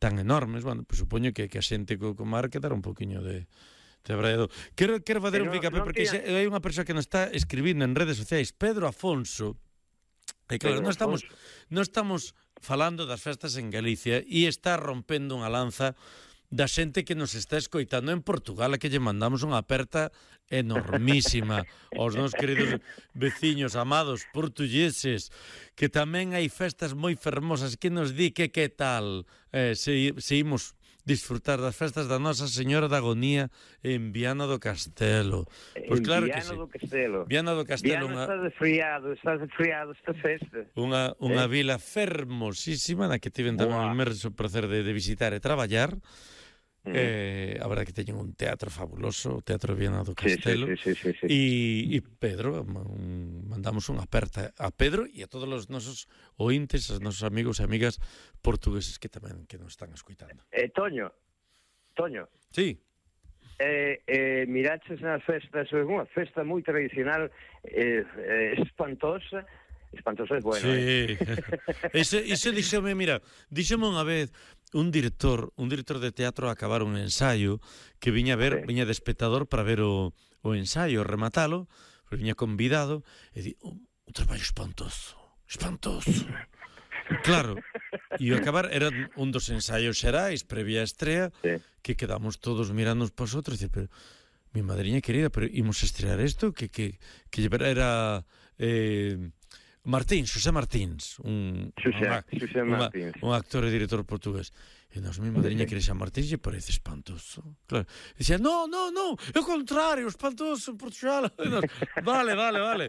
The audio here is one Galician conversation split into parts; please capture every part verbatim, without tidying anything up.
tan enormes, bueno, pues supoño que, que a xente co, co mar quedará un poquinho de... Quero, quero fazer un ficape no, porque tiene... hai unha persoa que nos está escribindo en redes sociais, Pedro Afonso, e claro, non estamos, non estamos falando das festas en Galicia e está rompendo unha lanza da xente que nos está escoitando en Portugal, a que lle mandamos unha aperta enormísima aos nos queridos veciños amados portugueses, que tamén hai festas moi fermosas, que nos di que que tal eh, se, se imos disfrutar das festas da Nosa Señora da Agonía en Viana do Castelo. Pois en claro Viana que sí. do Castelo. Viana do Castelo. Viana unha... está desfriado, está desfriado esta festa. Unha, unha eh? vila fermosísima na que tiven tamén o inmerso prazer de, de visitar e traballar. Mm. Eh, a verdade que teñen un teatro fabuloso, o Teatro Viana do Castelo. Sí, sí, sí, sí, sí. E, e Pedro, un, mandamos unha aperta a Pedro e a todos os nosos ointes, os nosos amigos e amigas portugueses que tamén que nos están escoitando. Eh, Toño, Toño. Sí. Eh, eh, miraches nas festas, é unha festa moi tradicional, eh, eh, espantosa, espantosa é bueno. Sí. Eh? ese, ese díxome, mira, díxome unha vez un director, un director de teatro a acabar un ensaio que viña a ver, sí. viña de espectador para ver o, o ensaio, rematalo, pero viña convidado e di, un, un traballo espantoso, espantoso. Claro, e o acabar era un dos ensaios xerais previa a estrea, sí. que quedamos todos mirando para os outros e pero mi madriña querida, pero imos estrear isto que que que era eh Martín, Xosé Martins, un, Xosé, un, Xosé Martins. un actor e director portugués. E nos mi madriña que Xosé Martins lle parece espantoso. Claro. E dicía, no, no, no, é o contrario, espantoso en Portugal. Nos, vale, vale, vale.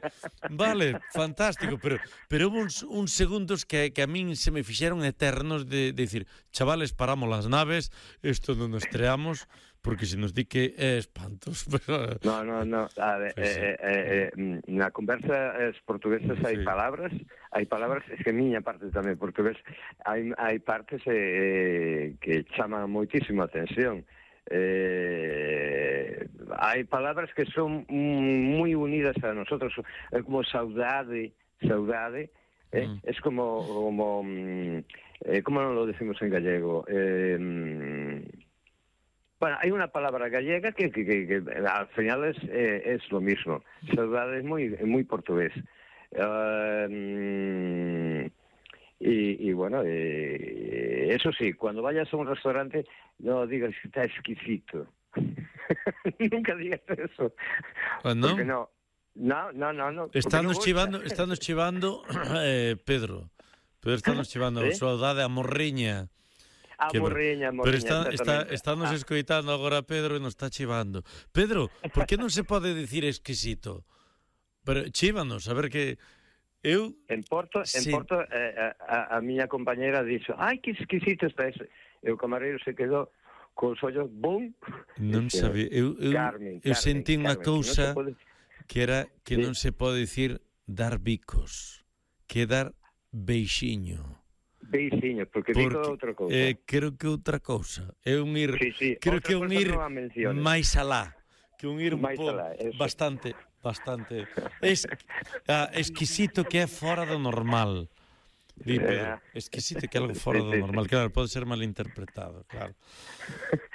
Vale, fantástico, pero pero houve uns, uns segundos que, que a min se me fixeron eternos de, de decir, chavales, paramos las naves, isto non nos estreamos, porque se nos di que é espantos. Pero... No, no, no. A ver, pues, eh, eh, eh, na conversa os portugueses hai sí. palabras, hai palabras, es que a miña parte tamén portugués, hai, hai partes eh, que chaman moitísimo a atención. Eh, hai palabras que son moi unidas a nosotros, é como saudade, saudade, eh? Mm. Es como, como eh, como non lo decimos en gallego, eh, bueno, hay una palabra gallega que, que, que, que al final es, eh, es lo mismo. Saudade es muy, muy portugués. Uh, y, y bueno, eh, eso sí, cuando vayas a un restaurante, no digas que está exquisito. Nunca digas eso. ¿No? Porque no. No, no, no, no. Estamos no chivando, estamos chivando, eh, Pedro. Pedro, estamos chivando. ¿Sí? Saudade a morriña. A que, morriña, morriña, pero está, está, estamos ah. escoitando agora Pedro e nos está chivando. Pedro, por que non se pode dicir exquisito? Pero chívanos, a ver que eu en Porto, sí. en Porto eh, a, a miña compañera dixo, ai, que exquisito está ese. E o camareiro se quedou cos ollos bum. Non sabía, eu eu, Carmen, eu Carmen, sentí unha cousa no pode... que era que sí. non se pode dicir dar bicos, que dar beixiño. Beixiño, porque, porque digo outra cousa. Eh, creo que outra cousa. É un ir, sí, sí. creo outra que é un ir no máis alá, que un ir un pouco bastante, bastante es, ah, exquisito, que é fora do normal. Di, Pedro, exquisito, que é algo fora do normal. Claro, pode ser malinterpretado, claro.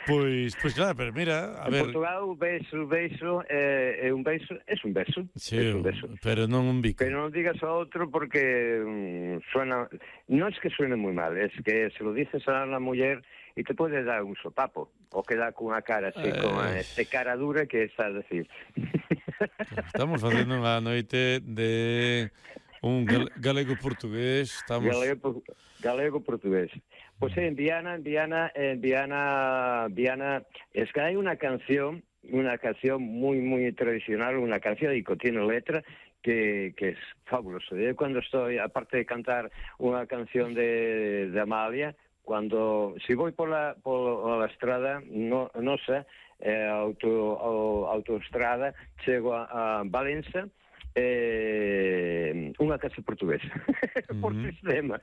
Pois, pois claro, pero mira, a en ver... En Portugal o beijo, beijo é, é un beijo, é un beijo. Sí, es un beijo. Pero non un bico. Pero non digas a outro porque um, suena... Non es que suene moi mal, es que se lo dices a unha muller e te pode dar un sopapo, ou queda con unha cara así, eh... con esta cara dura que está a decir. Estamos facendo unha noite de... Un galego-portugués, estamos... Galego, galego-portugués. Pois en Viana, en Viana, en Viana, Viana, es que hai unha canción, unha canción moi, moi tradicional, unha canción que contiene letra que, que es fabuloso. Eu cando estoy, aparte de cantar unha canción de, de Amalia, cando, si voy por la, por la estrada, no, no sé, eh, auto, autoestrada, chego a, a Valencia, eh, unha casa portuguesa por uh-huh. sistema,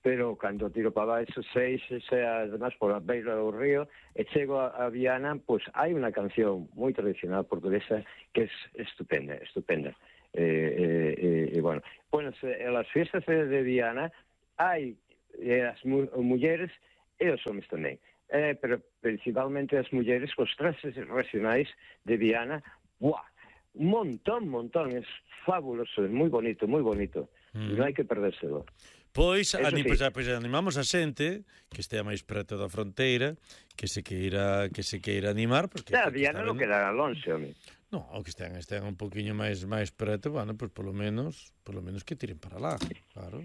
pero cando tiro para baixo seis, sea además por a beira do río e chego a, a Viana, pois pues, hai unha canción moi tradicional portuguesa que é estupenda, estupenda e eh, eh, eh, bueno, bueno, en las fiestas de Viana hai eh, as mu- mulleres e os homens tamén. Eh, pero principalmente as mulleres, os traxes regionais de Viana, buah, un montón, montón, es fabuloso, es moi bonito, moi bonito, mm. non hai que perdérselo. Pois, ani, sí. pois, pois animamos a xente que estea máis preto da fronteira, que se queira que se queira animar, porque a Viana non queda lonxe, home. No, o que estean, estean un poquinho máis máis preto, bueno, pois polo menos, polo menos que tiren para lá, claro.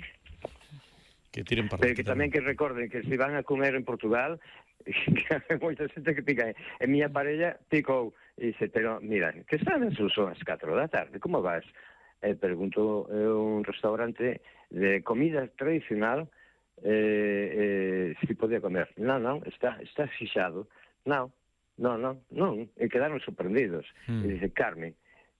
Que tiren para lá. Pero que, que tamén que recorden que se van a comer en Portugal, que hai moita xente que pica. E miña parella picou e dice, pero mira, que están son as catro da tarde, como vas? E pregunto, é un restaurante de comida tradicional, eh, eh, si podía comer. Non, non, está, está fixado. Non, non, non, non. E quedaron sorprendidos. Mm. E dice, Carmen,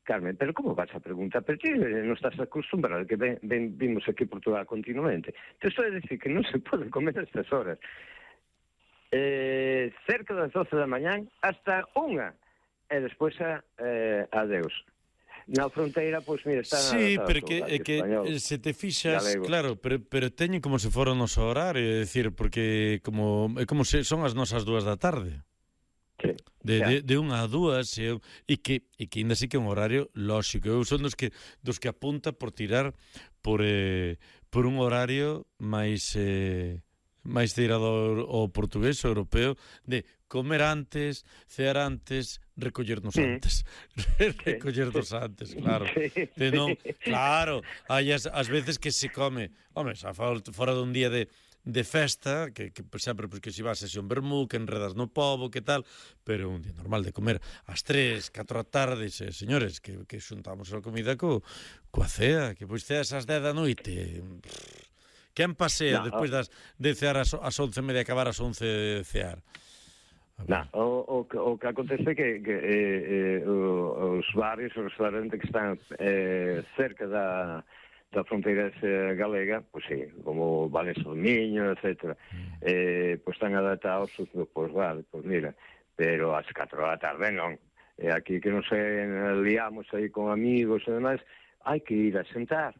Carmen, pero como vas a preguntar? Pero ti non estás acostumbrado, que ven, ven, vimos aquí en Portugal continuamente. Te estou a decir que non se pode comer a estas horas. Eh, cerca das doce da mañán hasta unha. E despois a, eh, adeus. Na fronteira, pois, mira, está... Sí, pero que, é que español, se te fixas, galego. Claro, pero, pero teñen como se fora o noso horario, é dicir, porque como é como se son as nosas dúas da tarde. Sí. De, de, de unha a dúas, e, e que e que ainda así que é un horario lóxico. Eu son dos que dos que apunta por tirar por eh, por un horario máis eh, máis tirado ao portugués ou europeo, de comer antes, cear antes, recollernos sí. antes. recollernos sí. antes, claro. Sí. De non, claro, hai as, as veces que se come, home, xa fora dun día de, de festa, que, que sempre pues, que se vas a un vermú, que enredas no pobo, que tal, pero un día normal de comer ás tres, catro da tarde, se, señores, que, que xuntamos a comida co, coa cea, que pois ceas ás dez da noite. Quen pasea no, despois das, de cear as, as once e media, acabar as once de cear? No, o, o, o que acontece é que, que eh, eh, os barrios, os restaurantes que están eh, cerca da, da fronteira galega, pois sí, como Vales do Miño, etcétera, mm. eh, pois están adaptados, pois vale, pois mira, pero ás catro da tarde non. E aquí que non se liamos aí con amigos e demais, hai que ir a sentar.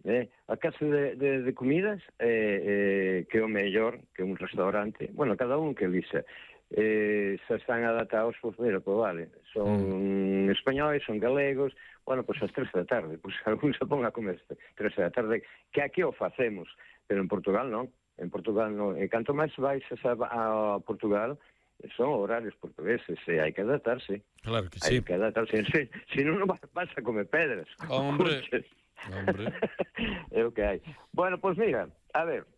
Eh, a casa de, de, de comidas eh, eh, que é o mellor que un restaurante, bueno, cada un que elixa, eh, se están adaptados, pois, mira, pois vale, son mm. españois, son galegos, bueno, pois as tres da tarde, pois algún se pon a comer tres da tarde, que aquí o facemos, pero en Portugal non, en Portugal non, e canto máis vais a, a Portugal, son horarios portugueses, e hai que adaptarse. Claro que sí. Hai que adaptarse, se, se non, non vas a comer pedras. Hombre... Hombre. É o que hai. Bueno, pois pues mira, a ver,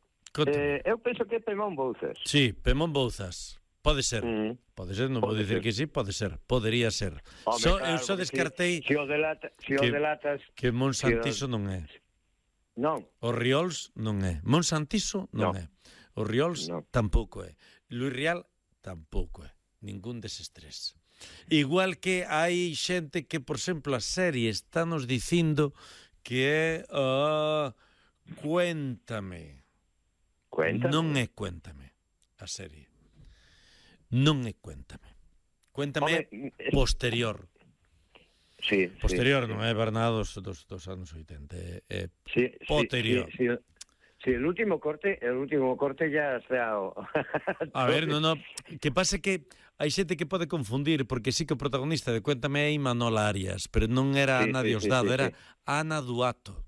eh, eu penso que é Pemón Bouzas. Sí, Pemón Bouzas. Pode ser. Mm. Pode ser, non vou dicir que sí, pode ser. Podería ser. Home, so, claro, eu só descartei si, si o delata, si que, o delatas que Monsantiso si o... non é. Non. O Riols non é. Monsantiso non no. é. O Riols no. tampouco é. Luis Rial tampouco é. Ningún deses tres. Igual que hai xente que, por exemplo, a serie está nos dicindo que é uh, Cuéntame. Cuéntame. Non é Cuéntame a serie. Non é Cuéntame. Cuéntame Home, é posterior. Sí, posterior, sí, non é Bernardo dos, dos, dos anos oitenta, é, é sí, posterior. Sí, sí, sí. Sí, el último corte, el último corte ya se ha... A ver, no, no, que pase que hai xente que pode confundir, porque sí que o protagonista de Cuéntame é Imanol Arias, pero non era sí, Ana sí, Diosdado, sí, sí, era sí. Ana Duato.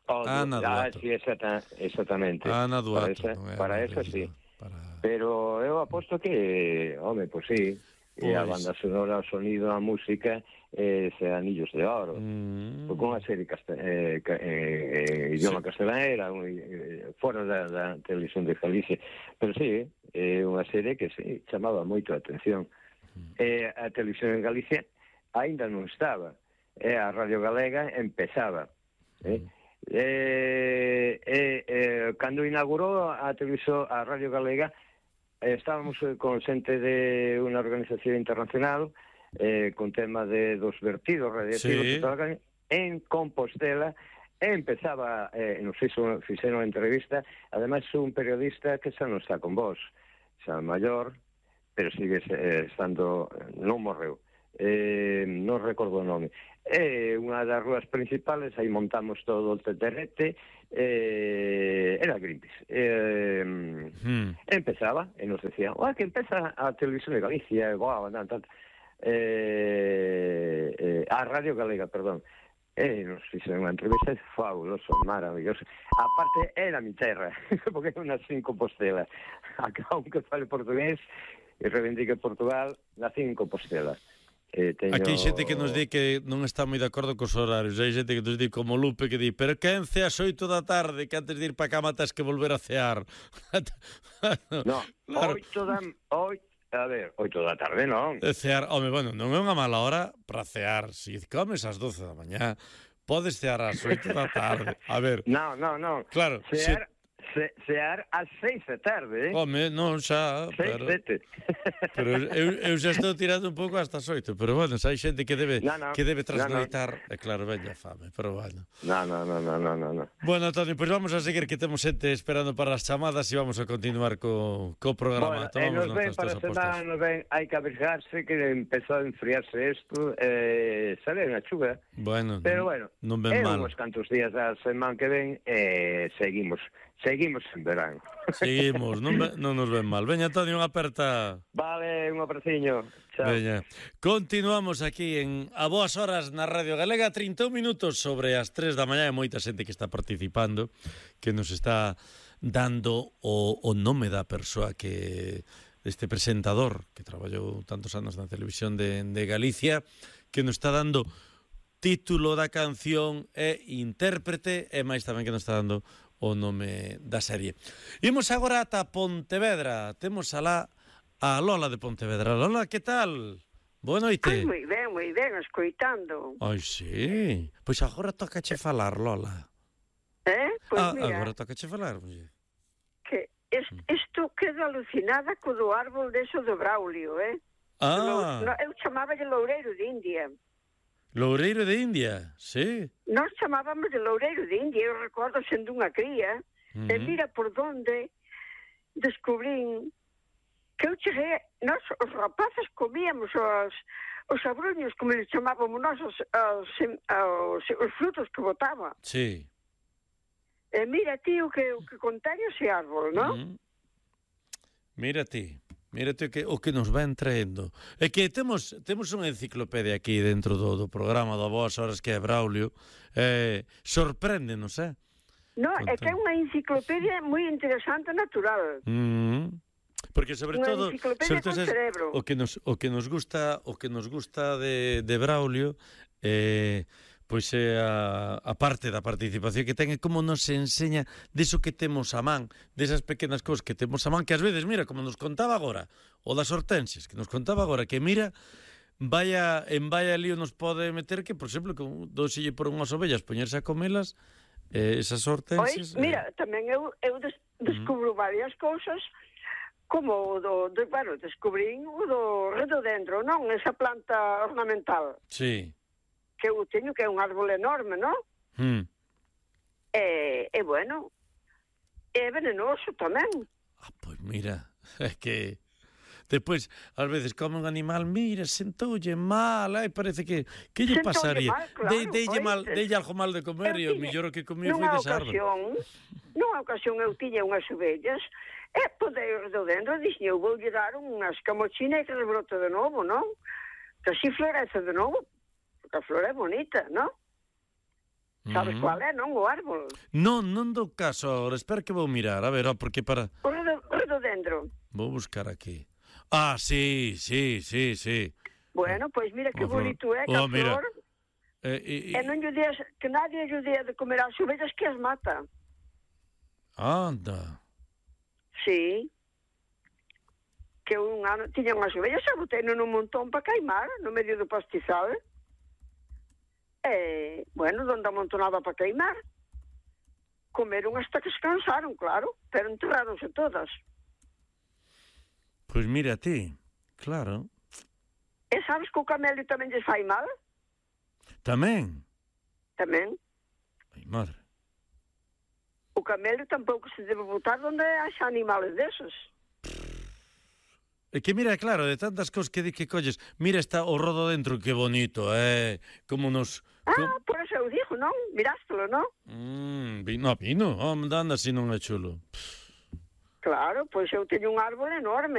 Oh, Ana ah, Duato. sí, exacta, exactamente. Ana Duato. Para esa, no para esa sí. Para... Pero eu aposto que, home, pois pues sí, pues... a banda sonora, o sonido, a música, eh, se Anillos de Oro. Mm. Porque unha serie casta, eh, eh, idioma sí. castelanera, eh, fora da, da televisión de Galicia. Pero sí, é eh, unha serie que sí, chamaba moito a atención. Mm. Eh, a televisión en Galicia aínda non estaba. Eh, a Radio Galega empezaba. Eh? Mm. Eh, eh, eh, cando inaugurou a televisión, a Radio Galega, eh, estábamos con xente de unha organización internacional eh, con tema de dos vertidos radiactivos sí. en Compostela, e empezaba, eh, nos fixo, fixeron entrevista, ademais un periodista que xa non está con vos, xa maior, pero sigue eh, estando, non morreu, eh, non recordo o nome. É unha das rúas principales, aí montamos todo o teterrete, eh, era Greenpeace. Eh, hmm. Empezaba, e nos decía, oh, que empeza a Televisión de Galicia, wow, tal, tal. Eh, eh, a Radio Galega, perdón. E nos fixeron unha entrevista fabuloso, maravilloso. Aparte, era mi terra, porque é unhas cinco postelas. Acá, aunque fale portugués e reivindique Portugal, na cinco postelas. Eh, teño... Aquí hai xente que nos di que non está moi de acordo cos horarios. Hai xente que nos di como Lupe que di, pero que en ceas oito da tarde, que antes de ir para cama tens que volver a cear. No, claro. oito da... oito A ver, oito da tarde, non? Cear, home, bueno, non é unha mala hora para cear. Se si comes ás doce da mañá, podes cear ás oito da tarde. A ver... Non, non, non. Claro, cear, se... cear ás seis da tarde, eh? Home, non, xa... Seis, pero... sete. Pero eu, eu xa estou tirando un pouco hasta as oito. Pero, bueno, xa hai xente que debe, no, no. que debe trasnoitar. No, no. E claro, veña fame, pero, bueno. Non, non, non, non, non, non. Bueno, Toni, pois pues vamos a seguir, que temos xente esperando para as chamadas e vamos a continuar co, co programa. Bueno, e nos ven para a semana, nos ven, hai que abrigarse, que empezou a enfriarse isto, eh, sale unha chuva. Bueno, pero bueno, non ven é mal. uns cantos días da semana que ven, eh, seguimos, seguimos en verán. Seguimos, non, non nos ven mal. Veña, Toni, unha aperta. Vale, un abraciño. Chao. Veña. Continuamos aquí en A Boas Horas na Radio Galega, trinta e un minutos sobre as tres da mañá, e moita xente que está participando, que nos está dando o, o nome da persoa que este presentador que traballou tantos anos na televisión de, de Galicia, que nos está dando título da canción e intérprete, e máis tamén que nos está dando o nome da serie. Imos agora ata Pontevedra. Temos alá a Lola de Pontevedra. Lola, que tal? Boa noite. Ai, moi ben, moi ben, escoitando. Ai, sí. Pois agora toca che falar, Lola. Eh? Pois ah, mira, agora toca che falar, muller. Que isto quedo alucinada co do árbol deso do Braulio, eh? Ah. No, eu chamaba de Loureiro de India. Loureiro de India, sí. Nós chamábamos de Loureiro de India, eu recordo sendo unha cría, uh -huh. E mira por donde descubrín que eu cheguei, nós os rapaces comíamos os, os abruños, como les chamábamos nós, os, os, os, os frutos que botaba. Sí. E mira ti o que, o que contén ese árbol, non? Uh -huh. Mira ti. Mírate que o que nos va traendo. É que temos temos unha enciclopedia aquí dentro do, do programa da Boas Horas que é Braulio. Eh, sorpréndenos, eh? No, é que é unha enciclopedia moi interesante natural. Mm, porque sobre unha todo, sobre todo es, o que nos o que nos gusta, o que nos gusta de de Braulio eh pois é a, a parte da participación que ten é como nos enseña deso que temos a man, desas pequenas cousas que temos a man, que ás veces, mira, como nos contaba agora, o das hortensias, que nos contaba agora, que mira, vaya, en vaya lío nos pode meter que, por exemplo, que doselle por unhas ovellas, poñerse a comelas, eh, esas hortensias... Oi, mira, eh... tamén eu, eu des, descubro mm. varias cousas, como o do, de, bueno, descubrín o do redodendro, non? Esa planta ornamental. Sí. Que eu teño, que é un árbol enorme, non? Mm. E, e, bueno, é venenoso tamén. Ah, pois mira, é que... Depois, ás veces, come un animal, mira, sentoulle mal, ai, parece que... Que lle pasaría? Mal, claro, de, deille, mal, deille algo mal de comer e o millor o que comía foi desa árbol. Nunha ocasión eu tiña unhas ovellas e podei do dentro e dixen, eu vou lle dar unhas camochinas que rebrote de novo, non? Que así florece de novo. Porque a flor é bonita, non? Sabes uh -huh. cuál é, non? O árbol. Non, non do caso agora. Espera que vou mirar. A ver, porque para... O redodendro. Vou buscar aquí. Ah, sí, sí, sí, sí. Bueno, pois mira que bonito é que oh, a flor... Eh, e, e non lle días, que nadie lle día de comer as ovellas que as mata. Anda. Sí. Que un ano tiña unhas ovellas e botei nun montón para queimar, no medio do pastizal. E, bueno, donde amontonaba para queimar. Comeron hasta que se cansaron, claro, pero enterraronse todas. Pois mira ti, claro. E sabes que o camelio tamén lles fai mal? Tamén? Tamén. Ai, madre. O camelio tampouco se debe botar onde haxa animales desos. É que mira, claro, de tantas cosas que di que colles, mira, está o rodo dentro, que bonito, eh, como nos... Ah, com... por eso eu digo, non? Mirástelo, non? Mm, vino, vino, oh, anda así non é chulo. Claro, pois eu teño un árbol enorme.